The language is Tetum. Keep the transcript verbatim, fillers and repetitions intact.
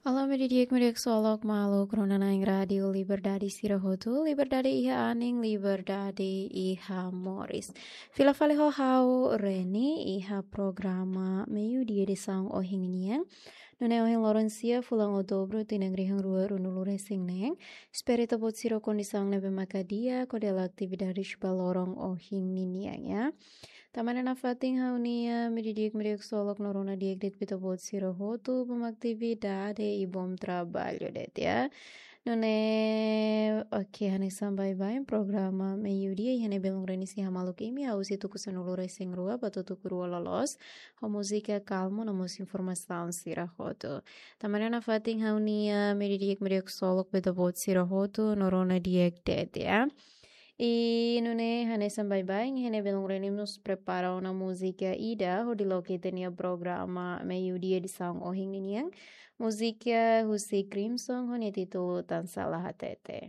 Alô, imi di'ak, imi di'ak, solok maluk rona-na'in Rádiu Liberdade sira hotu, liberdade iha anin, liberdade iha moris. Fila fali ho ha'u Reni iha programa Meiudia edisaun ohin nian. Nune'e ohin loron sia fulan Outubru tinan rihun rua ruanulu resin neen. Espera ita-boot sira ho kondisaun ne'ebé maka di'ak hodi halo atividade ba loron ohin nian ya. Tanba ne'e nafatin ha'u-nia imi di'ak, imi di'ak, solok no rona di'ak de'it ba ita-boot sira hotu ba atividade i bom trabalho de'it ya. Nune'e, oke, hanesan baibain programa Meiudia iha ne'e belun Reni sei hamaluk imi husi tuku sanulu resin rua ba tuku rua loloos. Ho múzika kalmu no mós informasaun sira hotu. Tanba ne'e nafatin ha'u-nia imi di'ak, imi di'ak, solok ba ita-boot sira hotu no rona di'ak de'it ya. I nune'e hanesan baibain iha ne'e belun Reni mós prepara ona múzika ida hodi loke ita-nia programa Meiudia edisaun ohin nian. Múzika husi Crimson ho nia títulu Tansá La Hatete.